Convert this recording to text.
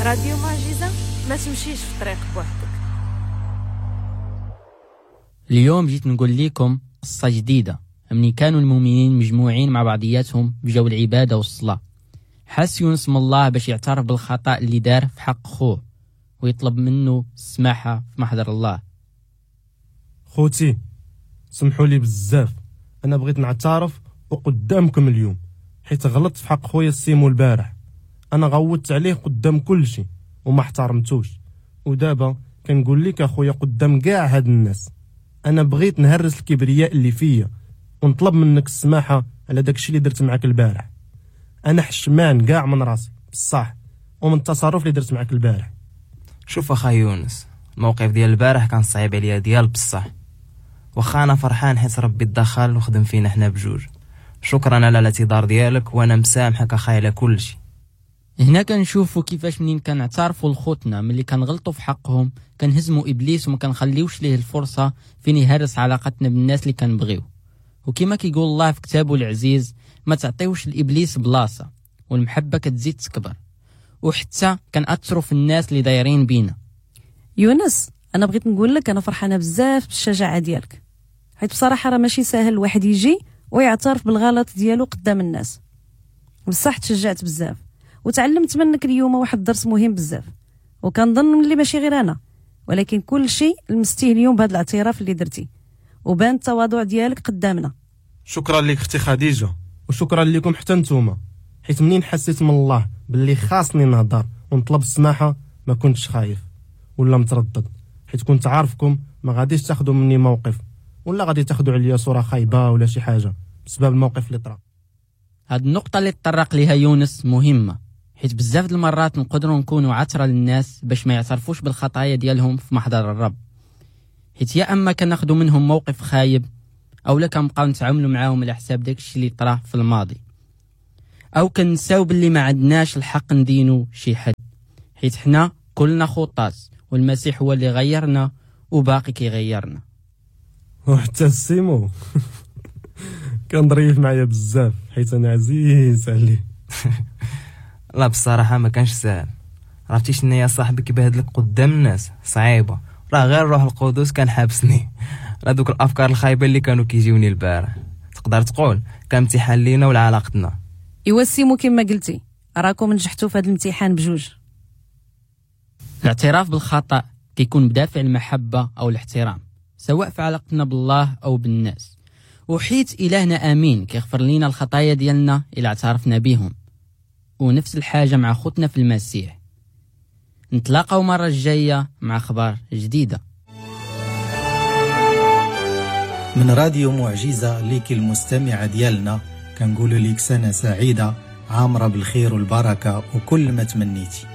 راديو معجزة، ما تمشيش في طريق بوحدك. اليوم جيت نقول لكم قصة جديدة. مني كانوا المؤمنين مجموعين مع بعضياتهم بجو العبادة والصلاة، حس يونس من الله باش يعترف بالخطأ اللي دار في حق خوه ويطلب منه السماحة في محضر الله. خوتي سمحوا لي بزاف، أنا بغيت نعترف وقدامكم اليوم حيت غلطت في حق خويا السيمو البارح. أنا غوتت عليه قدام كل شيء وما احترمتوش، ودابا كنقول لك أخويا قدام كاع هاد الناس أنا بغيت نهرس الكبرياء اللي فيا ونطلب منك السماحة على داكشي اللي درت معاك البارح. أنا حشمان كاع من راسي بصح ومن التصرف اللي درت معاك البارح. شوف أخا يونس، الموقف ديال البارح كان صعيب عليا ديال بصح، واخا أنا فرحان حيت ربي تدخل وخدم فينا حنا بجوج. شكرا على الاعتذار ديالك وانا مسامحك اخاي على كل شيء. هنا كنشوفوا كيفاش منين كنعترفوا لخوتنا ملي كنغلطوا في حقهم كنهزموا ابليس وما كنخليوش ليه الفرصه فين يهرس علاقتنا بالناس اللي كنبغيو. وكما كيقول الله في كتابه العزيز، ما تعطيوش لابليس بلاصه، والمحبه كتزيد تكبر، وحتى كنأثروا في الناس اللي دايرين بينا. يونس، انا بغيت نقول لك انا فرحانه بزاف بالشجاعه ديالك، حيت بصراحه راه ماشي ساهل الواحد يجي ويعترف بالغلط ديالو قدام الناس. بصح تشجعت بزاف وتعلمت منك اليوم واحد الدرس مهم بزاف، وكنظن اللي ماشي غير انا ولكن كل شيء لمستيه اليوم بهذا الاعتراف اللي درتي وبان التواضع ديالك قدامنا. شكرا لك اختي خديجه، وشكرا لكم حتى نتوما، حيت منين حسيت من الله باللي خاصني نهضر ونطلب السماحه ما كنتش خايف ولا متردد، حيت كنت عارفكم ما غاديش تاخذوا مني موقف ولا غادي تاخذوا عليا صوره خايبه ولا شي حاجه بسبب الموقف اللي طرا. هاد النقطه اللي تطرق ليها يونس مهمه، حيت بزاف د المرات نقدروا نكونوا عثره للناس باش ما يعترفوش بالخطايا ديالهم في محضر الرب، حيت يا اما كناخذوا منهم موقف خايب او لا كنبقاو نتعاملوا معاهم على حساب داكشي اللي طرا في الماضي، او كنساو باللي ما عندناش الحق ندينو شي حد، حيت حنا كلنا خطاة والمسيح هو اللي غيرنا وباقي كيغيرنا. وحتى السيمو كان ظريف معايا بزاف حيت انا عزيز عليه. لا بصراحه ما كانش ساهل، عرفتي شنو يا صاحبي كيبهدلك قدام الناس صعيبه، راه غير الروح القدس كان حابسني راه دوك الافكار الخايبه اللي كانوا كيجيوني البارح، تقدر تقول كان امتحان لينا ولعلاقتنا. ايوا سيمو كما قلتي راكم نجحتوا في هذا الامتحان بجوج. الاعتراف بالخطأ كيكون بدافع المحبة أو الاحترام، سواء في علاقتنا بالله أو بالناس. وحيت إلهنا آمين كيغفر لنا الخطايا ديالنا إلا اعترفنا بهم، ونفس الحاجة مع خوتنا في المسيح. نتلاقاو مرة الجاية مع أخبار جديدة من راديو معجزة. ليك المستمعة ديالنا كنقولوا ليك سنة سعيدة عامرة بالخير والبركة وكل ما تمنيتي.